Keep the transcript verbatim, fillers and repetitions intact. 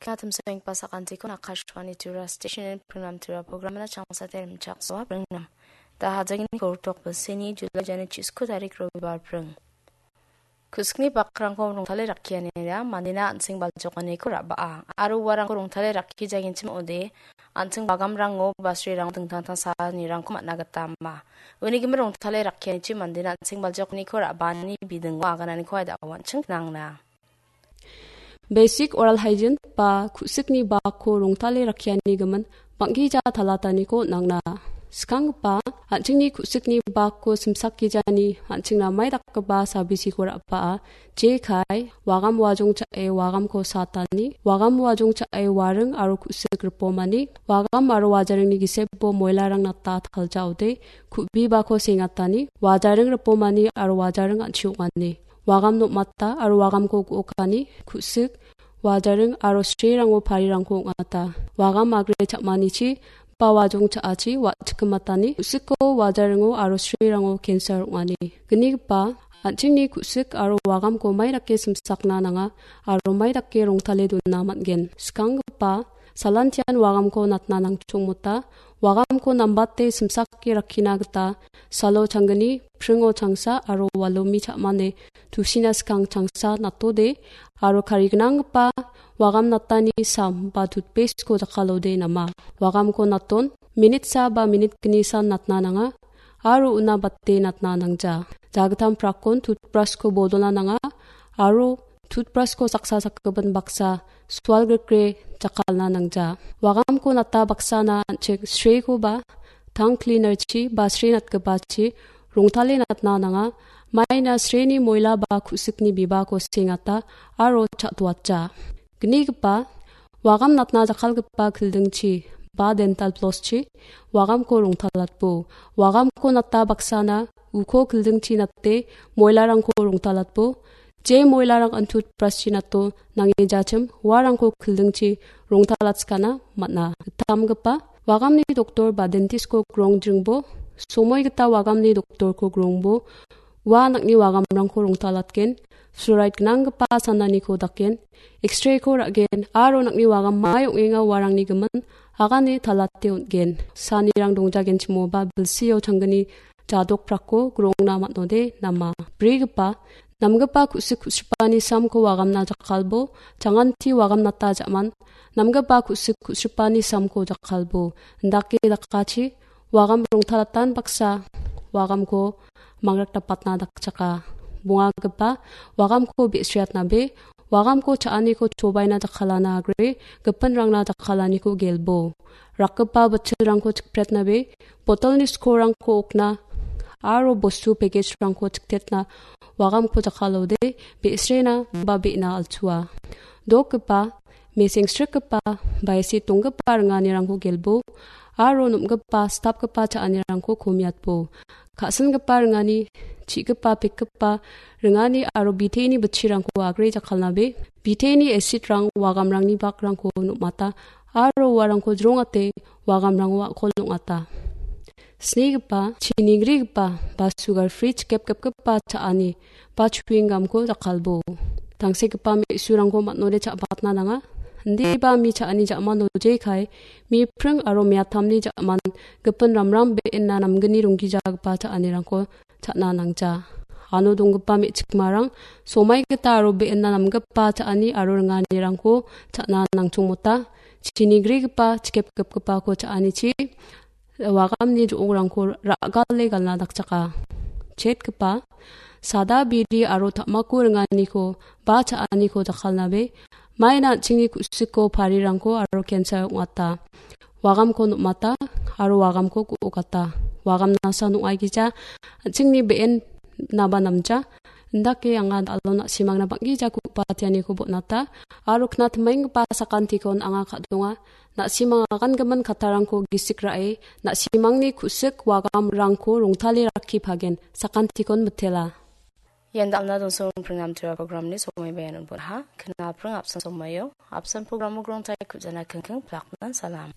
Nikna timsoenggipa sakantikon Akashvani Tura Station-in pringnam Tura programna changsate rimchaksoa pringnam. Da hajagini kortok bilseni July jani chisku tarik Robibar pring. Kuskni bakrangko rongtale rakkianira mandena an·seng baljokaniko ra·baa. Aro uarangko rongtale rakkijagenchim ong·ode, an·seng bagamrango ba srirango dingtang dingtang saanirangko man·a gita ama. Uni gimin rongtale rakkianichi mandena an·seng baljokaniko ra·baani bidingo agananiko aida an·ching nangna. Basic oral hygiene ba ku·sikni bakko rongtale rakkiani gimin bang·gija talataniko on·angna. Skanggipa, an·chingni ku·sikni bakko simsakgijani an·chingna mai dakgipa sabisiko ra·baa. Jekai, wagam wajong cha·e wagamko satani, wagam wajong cha·e waring aro ku·sik ripomani, wagam aro wajaringni gisebo moilarang nata taljaode, ku·bibako sengatani, wajaring ripomani aro wajaring an·chi ong·ani. Wagam nom·ata aro wagamko gu·okani, ku·sik, wajaring aro srirango parirangko ong·ata. Wagam agre cha·manichi ba wajong cha·achi wa·chikgimatani, ku·siko, wajaringo aro srirango cancer ong·ani. Gnigipa, an·chingni ku·sik aro wagamko mai dake simsakna nanga aro mai dake rongtale dona man·gen. Skanggipa, salantian wagamko natna nangchongmota, wagamko nambate simsake rakkina gita salo changgni, pringo changsa aro walomi cha·mane tusina skang changsa natode aro karignanggipa wagam natani sam ba toothpaste-ko jakkalode nama. Wagamko naton, minit sa ba minit gni san natna nanga aro una bate natna nangja. Jagittam prakon toothbrush-ko bodolna nanga aro toothbrush-ko saksa sakgipin baksa sual grikre jakkalna nangja. Wagamko nata baksana an·ching srekoba tang cleaner-chi ba sre natgipachi rongtale natna nanga. Maina sreni moila ba ku·sikni bibako sengata aro cha·toatja. Gnigipa, wagam natna jakkalgipa kildingchi ba dental floss-chi wagamko rongtalatbo. Wagamko nata baksana uko kildingchi nate moilarangko rongtalatbo. Je moilarang an toothbrush-chi nato nange jachim uarangko kildingchi rongtalatskana man·a. Gittamgipa, wagamni doktor ba dentist-ko grong jringbo, somoi gita wagamni doktor-ko grongbo, ua nang·ni wagamrangko rongtalatgen, fluoride gnanggipa sananiko daken, X-ray-ko ra·gen, aro nang·ni wagam mai ong·enga uarangni gimin agane talate on·gen. Sanirang dongjagenchimoba bilsio changgni jadok prakko grongna man·ode nama. Brigipa, namgipa ku·sik ku·sripani samko wagamna jakkalbo, janganti wagamnata ja·man, namgipa ku·sik ku·sripani samko jakkalbo, indake dakachi, wagam rongtalatan baksa, wagamko mangrakdapatna dakchaka. Bongagipa, wagamko be·sriatna be, wagamko cha·aniko chobaina jakkalana agre, gipinrangna jakkalaniko gelbo. Rakgipa bitchilrangko chikpretna be, botolni skorrangko okna, aro bostu package-rangko chiktetna, wagamko jakkalode, be·srena ba be·na alchua. Dokgipa, mesengsrikgipa, baisi tonggipa ringanirangko gelbo, aro nom·gipa, stapgipa cha·anirangko komiatbo. Ka·singipa ringani, chi·gipa, pekgipa ringani aro biteni bitchirangko agre jakkalnabe, biteni acid-rang wagamrangni bakrangko nom·ata, aro uarangko jrongate wagamrango a·kol ong·ata. Snigipa, chinigrigipa, ba sugar free chikepkepgipa cha·ani, ba chewing gum-ko jakkalbo. Tangsekgipa me·surangko man·ode cha·batna nanga. Indiba mi cha·ani ja·mano jekai, mi pring aro meatamni ja·man gipin ramram be·enna namgni ronggijagipa cha·anirangko cha·na nangja. Ano donggipa me·chikmarang somai gita aro be·enna namgipa cha·ani aro ringanirangko cha·na nangchongmota. Chinigrigipa, chikepgipgipako cha·anichi wagamni jo·ongrangko ra·gale galna dakchaka. Chetgipa, sada biri aro tamako ringaniko ba cha·aniko jakkalnabe, maina an·chingni ku·siko parirangko aro cancer ong·ata. Wagamko nom·ata aro wagamko go·okata. Wagamnasa nong·aigija, an·chingni be·en naba namja. Indake anga dal·o na·simangna bang·gija ku·patianiko bon·ata aro knatimaenggipa sakantikon anga ka·donga. Na·simang agangimin kattarangko gisik ra·e, na·simangni ku·sik wagamrangko rongtale rakkipagen, sakantikon mitela. Ian dal·na donsong pringnam tura programni somoi bayan on·botha. Knalpring apsan somoio, apsan programo grongtai ku·jana kengkeng plaknan salam.